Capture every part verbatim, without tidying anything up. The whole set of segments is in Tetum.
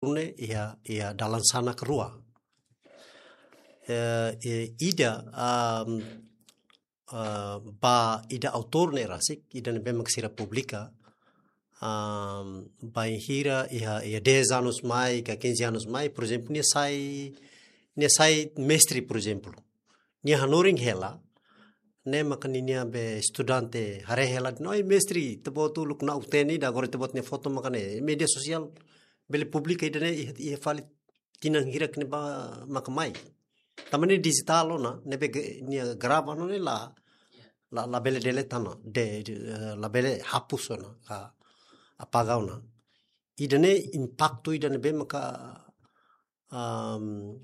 ne'e iha, iha dalan sanak rua. Eh, eh, ida, am, ah, ba ida autór ne'e rasik, ida ne'ebé mak sira publika, am, bainhira iha, iha dez anos mai, ka quinze anos mai, por ezemplu, nia sai, nia sai mestre, por ezemplu. Nia hanorin hela, ne'e maka ninia be estudante haree hela, no, "Ai, mestre, ita-boot uluk na'ok-teen ida, agora ita-boot nia foto maka ne'e." Média sosiál bele publika ida-ne'e iha, iha fali tinan hirak ne'ebá maka mai. Tanba ne'e dijitál ona, ne'ebé ge-, nia grava ona ne'e la, la, labele delete ona, de, de, eh, labele hapus ona, ka apaga ona. Ida-ne'e impaktu ida ne'ebé maka, am,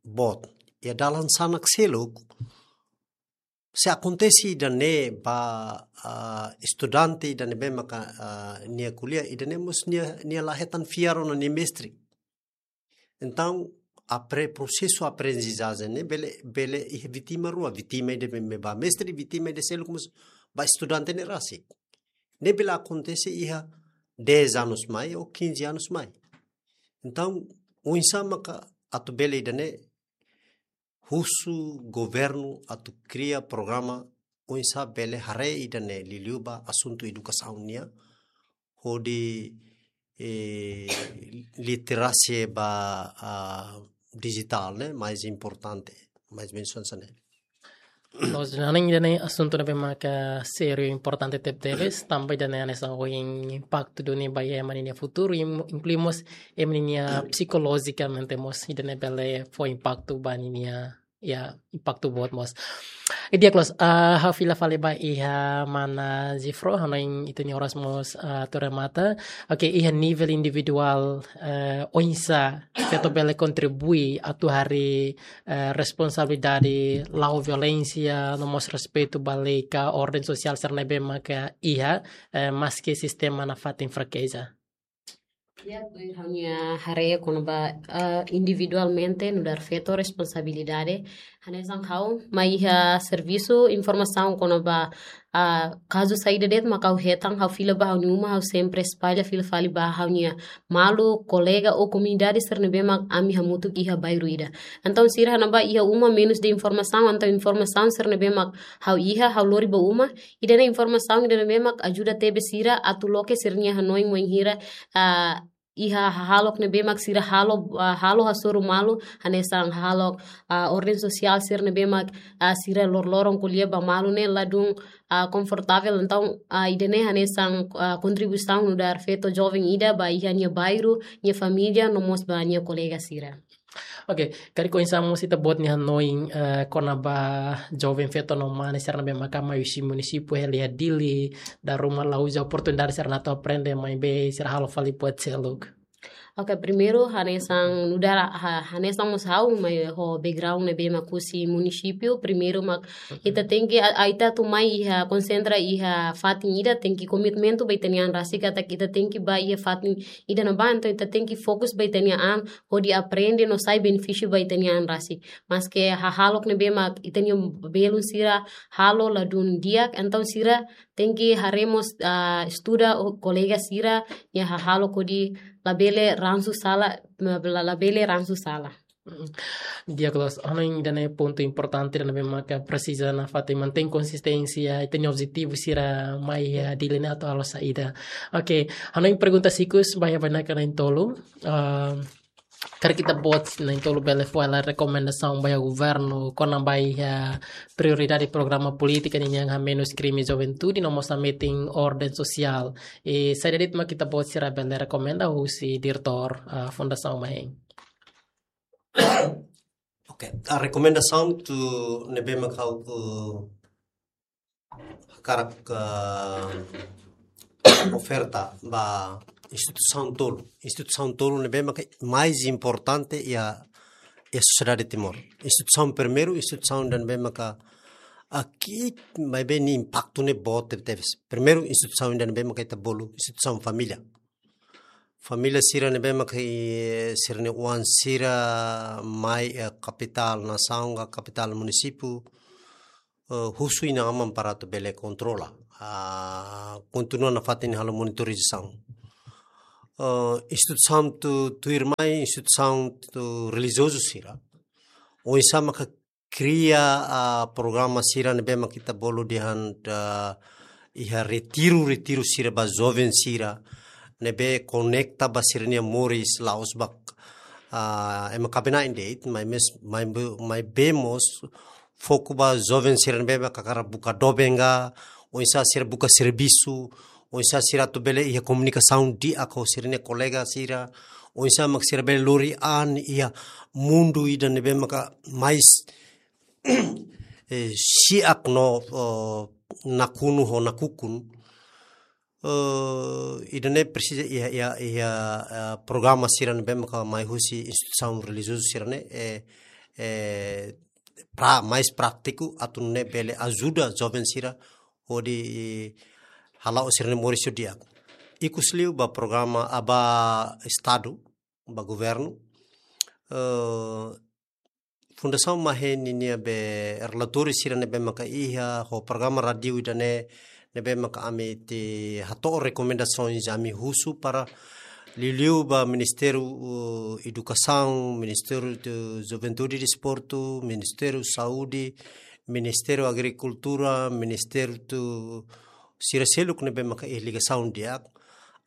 boot. Iha dalan sanak seluk, se akontese ida-ne'e ba, ah, estudante ida ne'ebé maka, ah, nia ko'alia, ida-ne'e mós nia, nia la hetan fiar ona nia mestre. Entaun, apre-, prosesu aprendizajen ne'e bele, bele iha vítima rua, vítima ida ne'ebé ba mestre, vítima ida seluk mós ba estudante ne'e rasik. Ne'e bele akontese iha dez anos mai ou quinze anos mai. Entaun, oinsá maka atu bele ida-ne'e husu governu atu kria programa oinsá bele haree ida-ne'e liuliu ba asuntu edukasaun nian, hodi, eh, literasia ba, ah, dijitál ne'e mais importante, mais mensajen ne'e. Loos, hanoin ida-ne'e asuntu ne'ebé maka sériu, importante tebetebes, tanba ida-ne'e hanesan ohin impaktu duni ba ema ninia futuru, im-, inklui mós ema ninia psikolojikamente mós, ida-ne'e bele fó impaktu ba ninia, ya, impaktu boot mós. I di'ak loos, ah, ha'u fila fali ba iha mana Jifro, hanoin ita-nia oras mós, ah, atu remata. Oke, iha nivel individuál, eh, oinsá feto bele kontribui atu harii, eh, responsabilidade, la'o violénsia, no mós respeitu ba lei ka orden sosiál sira ne'ebé maka iha, eh, maski sistema nafatin frakeza. Ya, tuir ha'u-nia haree kona-ba, ah, individualmente nu'udar feto responsabilidade. Hanesan ha'u mai iha servisu, informasaun kona-ba, ah, kazu saida de'it maka ha'u hetan, ha'u fila ba ha'u-nia uma, ha'u sempre espalla fila fali ba ha'u-nia malu, kolega ou komunidade sira ne'ebé mak ami hamutuk iha bairru ida. Entaun sira ne'ebá iha uma menus de informasaun, entaun informasaun sira ne'ebé mak ha'u iha, ha'u lori ba uma, ida-ne'e informasaun ida ne'ebé mak ajuda tebes sira atu loke sira-nia hanoin wainhira, ah, iha hahalok ne'ebé mak sira halo, ah, halo hasoru malu, hanesan hahalok, ah, orden sosiál sira ne'ebé mak, ah, sira loroloron ko'alia ba malu ne'e ladún, ah, konfortavel. Entaun, ah, ida-ne'e hanesan, ah, kontribuisaun nu'udar feto joven ida ba iha nia bairru, nia família, no mós ba nia kolega sira. Oke, karik oinsá mós ita-boot nia hanoin, eh, kona-ba joven feto no mane sira ne'ebé maka mai husi munisípiu hela iha Dili, dala ruma la uza oportunidade sira-ne'e atu aprende, maibé sira halo fali buat seluk. Oke, primeiru, hanesan nu'udar, ha-, hanesan mós ha'u mai ho background ne'ebé mak husi munisípiu, primeiru mak ita tenke, a, a, ita atu mai iha, konsentra iha fatin ida, tenke komitmentu ba ita-nia an rasik katak ita tenke ba iha fatin ida ne'ebá, entaun ita tenke fokus ba ita-nia an, hodi aprende no sai benefísiu ba ita-nia an rasik. Maske hahalok ne'ebé mak ita-nia belun sira halo ladún di'ak, entaun sira tenke haree mós, ah, estuda ho kolega sira-nia hahalok hodi labele ransu sala, la, la, labele ransu sala. Mm. Di'ak loos, hanoin ida-ne'e pontu importante ida ne'ebé maka presiza nafatin mantein konsisténsia, ita-nia objetivu sira mai iha Dili ne'e atu halo saida. Oke, hanoin pergunta ikus ba iha bainaka na'in-tolu. Ah, karik ita-boot na'in-tolu bele fó hela rekomendasaun ba iha governu kona-ba iha prioridade programa polítika nian hamenus krime juventude no mós hametin orden sosiál. I saida de'it mak ita-boot sira bele rekomenda husi diretór, ah, Fundasaun Maeng? Oke, a rekomendasaun ida ne'ebé mak ha'u, eh, hakarak, eh, oferta ba instituisaun tolu. Instituisaun tolu ne'ebé maka mais importante iha, iha sosiedade Timor. Instituisaun primeiru, instituisaun ida ne'ebé maka, ah, ki'ik, maibé nia impaktu ne'e boot tebetebes. Primeiru, instituisaun ida ne'ebé maka ita bolu, instituisaun família. Família sira ne'ebé maka, eh, sira-nia oan sira mai, eh, kapitál nasaun ka kapitál munisípiu, eh, husu inan-aman para atu bele kontrola. Ah, kontinua nafatin halo monitorizasaun. eh, instituisaun tu, tuirmai instituisaun tu relijiozu sira. Oinsá maka kria, ah, programa sira ne'ebé maka ita bolu dehan, ah, iha retiru, retiru sira ba joven sira ne'ebé konekta ba sira-nia moris la'ós ba, ah, ema kaben-na'in de'it, maibé, maibé, maibé mós foku ba joven sira ne'ebé maka hakarak buka doben ka, oinsá sira buka servisu, oinsá sira atu bele iha komunikasaun di'ak ho sira-nia kolega sira, oinsá maka sira bele lori an iha mundu ida ne'ebé maka mais, eh, si'ak no, oh, nakonu ho nakukun. Eh, ida-ne'e presiza iha, iha, iha, eh, programa sira ne'ebé maka mai husi instituisaun relijiozu sira-ne'e, eh, eh, pra-, mais prátiku atu nune'e bele ajuda joven sira hodi hala'o sira-nia moris ho di'ak. Ikus liu ba programa, ah, ba Estadu, ba governu, eh, Fundasaun MAHE ninia be relatóriu sira ne'ebé maka iha, ho programa rádiu ida-ne'e ne'ebé maka ami atu hato'o rekomendasoens, ami husu para liuliu ba Ministériu, uh, Edukasaun, Ministériu de Juventude e Desportu, Ministériu Saúde, Ministériu Agrikultura, Ministériu tu sira seluk ne'ebé maka iha ligasaun di'ak,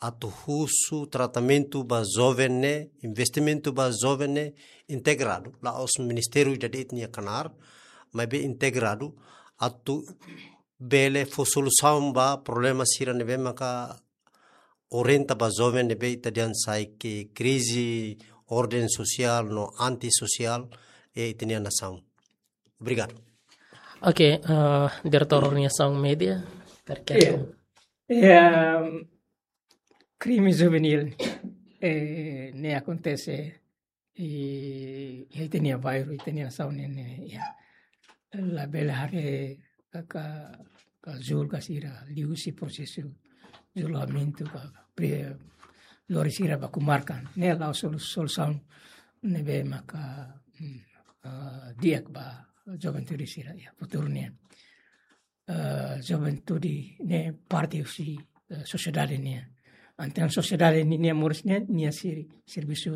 atu husu tratamentu ba joven ne'e, investimentu ba joven ne'e integradu, la'ós ministériu ida de'it nia knaar, maibé integradu, atu bele fó solusaun ba problema sira ne'ebé maka orienta ba joven ne'ebé ita dehan sai ke krize orden sosiál no antisosiál, eh, ita-nia nasaun. Obrigadu. Oke, eh, Diretór Organizasaun Média, terkait. Iya. Ya, krime juvenil, eh, ne'e akontese iha, iha ita-nia bairru, ita-nia nasaun ne'e, ne'e, ya. Labele haree ka, ka, ka julga sira liuhusi prosesu julgamentu ka, ka pre-, lori sira ba komarka. Ne'e la'ós solu-, solusaun ne'ebé maka, hmm, ah, di'ak ba juventude sira iha futuru nian. Eh, juventude ne'e parte husi, eh, sosiedade nian. Entaun sosiedade ninia moris ne'e, nia sir-, servisu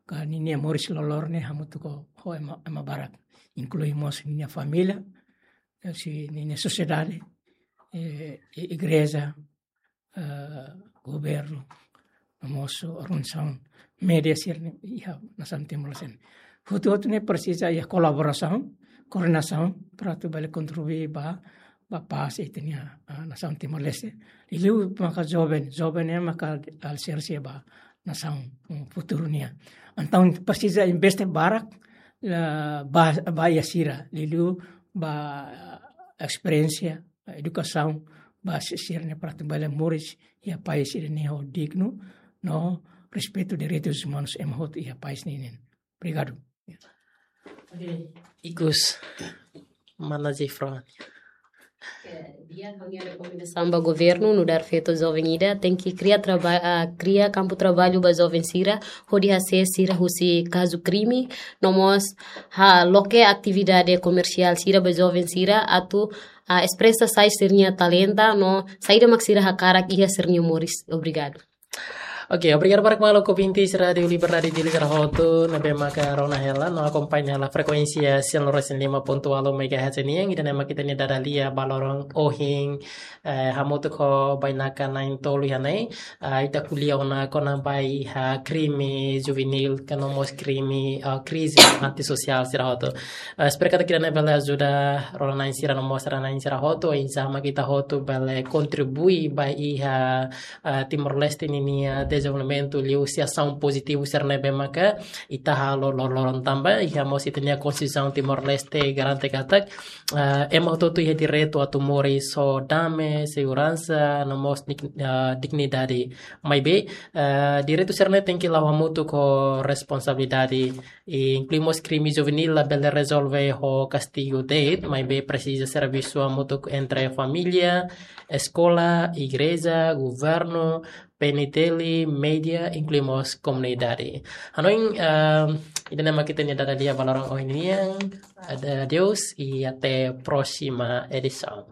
ka ninia moris loroloron ne'e hamutuk ho, ho ema, ema barak. Inklui mós ninia família, eh, husi ninia sosiedade, eh, i-, igreja, eh, governu, no mós organizasaun média sira-ne'e iha nasaun Timor-Leste. Hotu-hotu ne'e presiza iha kolaborasaun, koordenasaun, para atu bele kontribui ba, ba pás iha ita-nia, ah, nasaun Timor-Leste. Liuliu maka joven, joven ne'e maka aliserse ba nasaun, mm, futuru nian. Entaun presiza investe barak, eh, ba, ba iha sira, liuliu ba, eh, esperiénsia, edukasaun ba si-, sira-ne'e para atu bele moris iha país ida-ne'e ho dignu no respeitu direitus umanus ema hotu iha país ne'e nian. Obrigadu. Oke, ikus, mana Zefron? Oke, di'ak, ha'u-nia rekomendasaun ba governu nu'udar feto joven ida, tenke kria traba-, ah, kria kampu traballu ba joven sira, hodi hasees sira husi kazu krime, no mós ha loke atividade komersiál sira ba joven sira, atu ah, espresa sai sira-nia talenta no saida mak sira hakarak iha sira-nia moris. Obrigadu. Oke, obrigadu barak maluk ouvintes Rádiu Liberdade Dili sira hotu, ne'ebé maka rona hela no akompaña hela frekuénsia cento e cinco ponto oito megahertz nian, ida-ne'e mak ita-nia dada lia ba loron ohin, eh, hamutuk ho bainaka na'in-tolu iha ne'e, ah, ita ko'alia ona kona-ba iha krime juvenil, ka no mós krime, ah, krize antisosiál sira hotu. Ah, espera katak ida-ne'e bele ajuda rona-na'in sira no mós rona-na'in sira hotu, oinsá mak ita hotu bele kontribui ba iha, ah, Timor-Leste ninia dezenvolvimentu liuhusi asaun pozitivu sira ne'ebé maka ita halo loroloron tanba iha mós ita-nia Konstituisaun Timor-Leste garante katak, ah, ema hotu-hotu iha direitu atu moris ho dame, seguransa, no mós dig-, ah, dignidade. Maibé, ah, direitu sira-ne'e tenke la'o hamutuk ho responsabilidade. I inklui mós krime juvenil labele rezolve ho kastigu de'it, maibé presiza servisu hamutuk entre família, eskola, igreja, governu, P N T L, média, inklui mós komunidade. Hanoin, ah, ida-ne'e mak ita-nia dada lia ba loron ohin nian. Ade-, adeus i até próxima edição.